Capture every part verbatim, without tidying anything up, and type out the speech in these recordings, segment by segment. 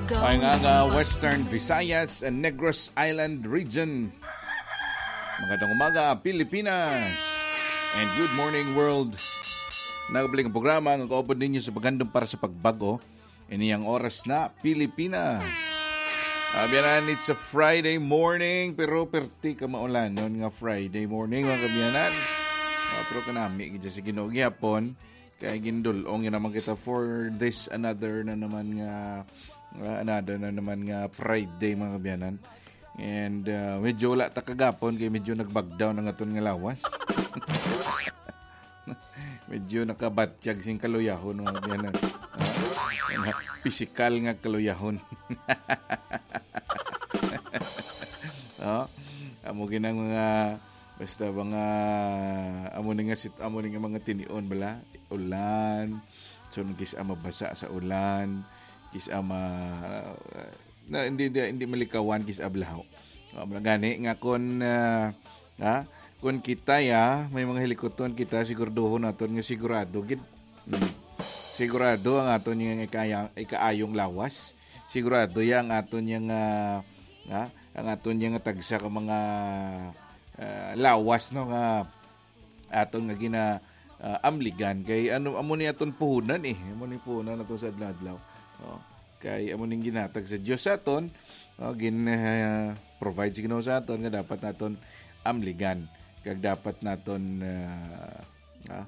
Maayong aga, Western Visayas and Negros Island Region. Magandang umaga, Pilipinas. And good morning, world. Nagabalik ang programa nga kaupod ninyo sa paghandom para sa pagbago. Ini ang oras na, Pilipinas. Abyanan, it's a Friday morning, pero perti ka maulanon nga Friday morning, mga kabyanan. Ah, pero kanami, gid sa Ginoo gihapon. Kay gindul-ong yun naman kita for this another na naman nga, ah, another na naman nga Friday, mga kabyanan. And, ah, medyo wala ta kagapon kay medyo nag-back down ang aton nga lawas. Medyo nakabatyag sing kaluyahon, mga kabyanan. Ah, mga pisikal nga kaluyahon. Oh, amo ginang mga, basta mga, amo ni nga sit-, amo ni nga mga tinion bala, ulan. So, kis-a mabasa sa ulan, kis-a ma-, na, hindi, hindi, hindi malikawan, kis-a blaho. Oh, mura gani nga kon, ah, ha? Kon kita ya, may mga hilikuton kita, siguraduhon naton nga sigurado gid. Hmm. Sigurado ang aton nga ikaya-, ikaayong lawas. Sigurado ya ang aton nga, ah, ha? Ang aton nga tagsa ka mga, ah, lawas, no, nga aton nga gina, ah, amligan kay ano, amo ni aton puhunan eh. Amo ni puhunan nato sa adlaw-adlaw. Oh. Kay amo ning ginhatag sa Dios sa aton, oh, gin, ah, provide sa Ginoo sa aton nga dapat naton amligan kag dapat naton, ah, ah,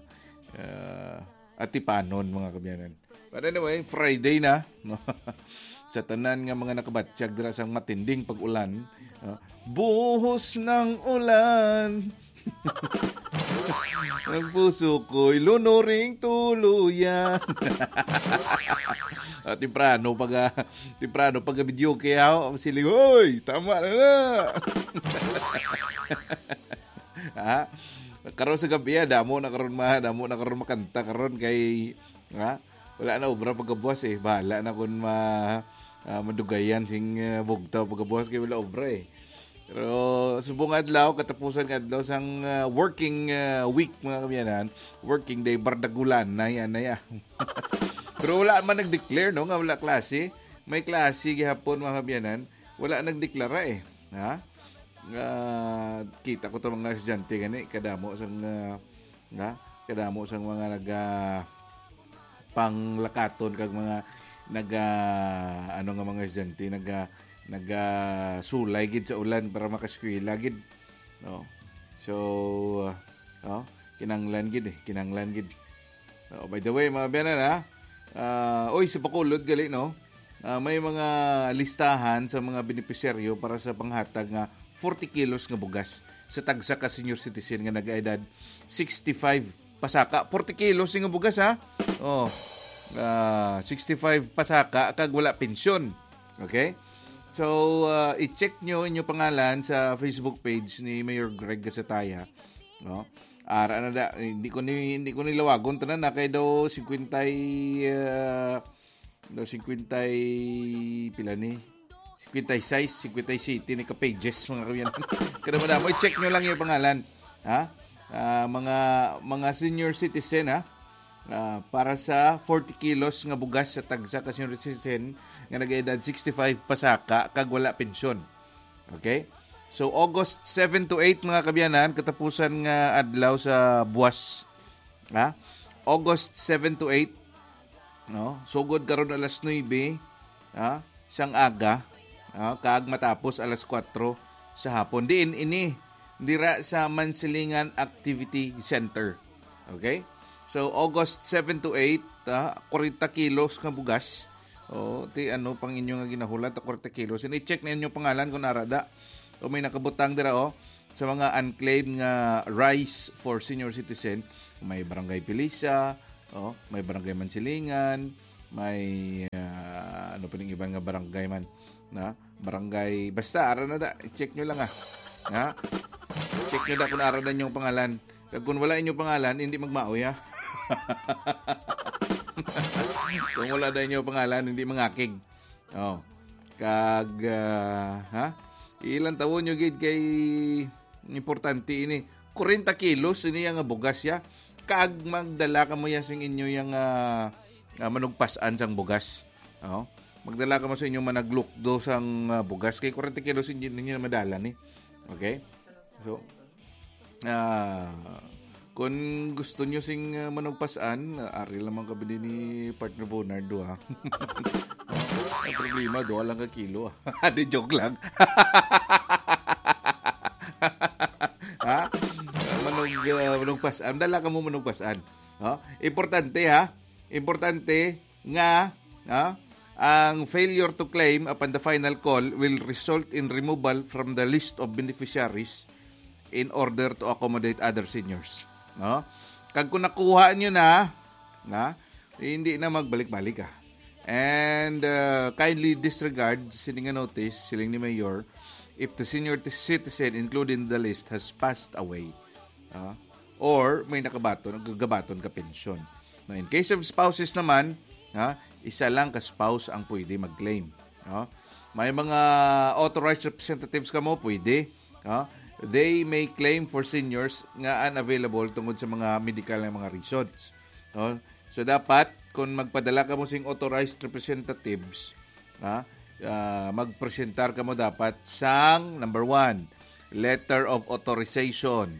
ah, atipanon, mga kabyanan. But anyway, Friday na, no? Sa tanan nga mga nakabatyag dira sang matinding pag-ulan, no? Buhos ng ulan. Ang puso ko'y lunuring tuluyan. Ah, temprano pag, ah, temprano pag video kaya siling, "Hoy, tama na na." Ha? Karon sa gabi, ah, damo na karon ma-, damo na karon makanta karon kay, ha? Wala na obra pagkabuas eh. Bahala na kung ma-, ah, madugayan sing, ah, bugtaw pagkabuas kay wala obra eh. Pero subong adlaw, katapusan nga adlaw sang, ah, working, ah, week, mga kabyanan, working day, bardagulan na yan, na yan. Pero wala man nag-declare, no, nga wala klase. May klase gihapon, mga kabyanan. Wala nagdeklara eh. Ha? Nga kita ko to mga estudyante gani, kadamo sang, ah, nga, kadamo sang mga naga panglakaton kag mga naga, ano nga mga estudyante, naga, naga sulay gid sa ulan para makaskwela gid. No? So, ah, oh, kinanglan gid eh, kinanglan gid. Oh, by the way, mga biyanan, ha? Ah, oy, sa Bacolod gali, no? Ah, may mga listahan sa mga benepisyaryo para sa panghatag nga forty kilos nga bugas sa tagsa ka senior citizen nga nag-edad sixty-five pasaka. Forty kilos nga bugas, ha? Oh, ah, sixty-five pasaka kag wala pensyon. Okay? So, ah, i-check nyo inyo pangalan sa Facebook page ni Mayor Greg Gasataya. No? Ara na da, hindi ko ni, hindi ko ni lawagon tanan na kay daw fifty, ah, daw fifty, pila ni? Fifty-six, fifty-seven ni ka pages, mga kawiyan. Kada mo na mo, i-check nyo lang yung pangalan. Ha? Ah, mga, mga senior citizen, ha? Ah, para sa forty kilos nga bugas sa tagsa ka senior citizen nga nag-edad sixty-five pasaka kag wala pensyon. Okay? So, August seven to eight, mga kabyanan, katapusan nga adlaw sa buwas. Ha? August seven to eight, no? Sugod karon alas nuebe, ha? Sang aga, ha? Kag matapos alas kuwatro sa hapon. Diin ini? Dira sa Mansilingan Activity Center. Okay? So, August seven to eight, ha? Kwarenta kilos nga bugas. O, ti ano pang inyo nga ginahulat, kwarenta kilos. And i-check na inyo pangalan kung ara da. O may nakabutang dira, oh, sa mga unclaimed nga rice for senior citizen. May Barangay Pilisa, oh, may Barangay Mansilingan, may, ah, ano pa ning iban nga barangay man, na? Barangay, basta, ara na da, i-check nyo lang, ah. Ha? Check nyo da kung ara na inyong pangalan. Kag kung wala inyong pangalan, hindi magmaoy, ha? Kung wala na inyong pangalan, hindi mangakig. Oh. Kag, ah, ha? Ilang tawon nyo gid kay importante ini. Kwarenta kilos ini nga bugas ya. Kag magdala kamo ya sing inyo yang, ah, ah, manugpasan sang bugas. Oh. Magdala kamo sa inyong managlukdo sang, ah, bugas kay forty kilos hindi ninyo na madala ni. Okay? So, ah, kung gusto nyo sing, ah, manugpasan, ah, ari lamang kami din ni Partner Bonardo, ha? Ang problema, duha lang ka kilo, ah. Di, joke lang. Ha? Manug-, ah, manugpasan. Dala kamo manugpasan. No? Importante, ha? Importante nga, ha? Ang failure to claim upon the final call will result in removal from the list of beneficiaries in order to accommodate other seniors. No? Kag kung nakuha nyo na, na, hindi na magbalik-balik, ah. And, uh, kindly disregard sini nga notice, siling ni Mayor, if the senior t-, citizen included in the list has passed away, ah, or may nakabaton, nagagabaton ka pensyon. Now, in case of spouses naman, ha, isa lang ka spouse ang pwede mag-claim. No? May mga authorized representatives kamo, pwede. No? They may claim for seniors nga unavailable tungod sa mga medical nga mga reasons. No? So, dapat, kung magpadala kamo sing authorized representatives, ha, ah, magpresentar kamo dapat sang, number one, letter of authorization.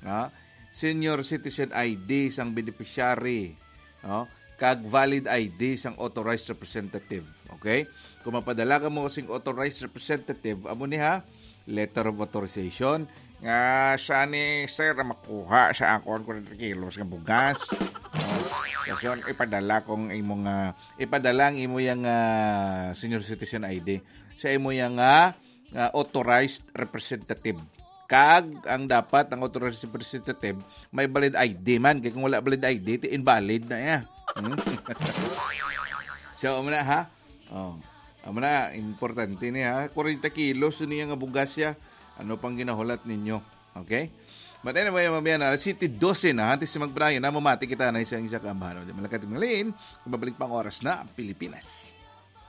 Ha? Senior citizen I D sang beneficiary, no? Kag valid I D sang authorized representative. Okay? Kung mapadala kamo sing authorized representative, amo ni, ha, letter of authorization nga siya ni sir ang makuha sa akon forty kilos nga bugas. Oh, kasi yun, ipadala kong imo nga, ipadala ang imo yang, ah, senior citizen I D sa imo yang, ah, ah, authorized representative. Kag ang dapat ang authorized representative may valid I D man. Kay kung wala valid I D, ti invalid na ya. Hmm? So, amo na, ha? Oh, amo na, importante ni, ha? Forty kilos niya nga bugas ya. Ano pang ginahulat ninyo? Okay? But anyway, mga biyan, alas siyete doce na, antes si Magbrian, na mamati kita na isang isa ka ambahan. Di malakat malin, kung mabalik pang oras na ang Pilipinas.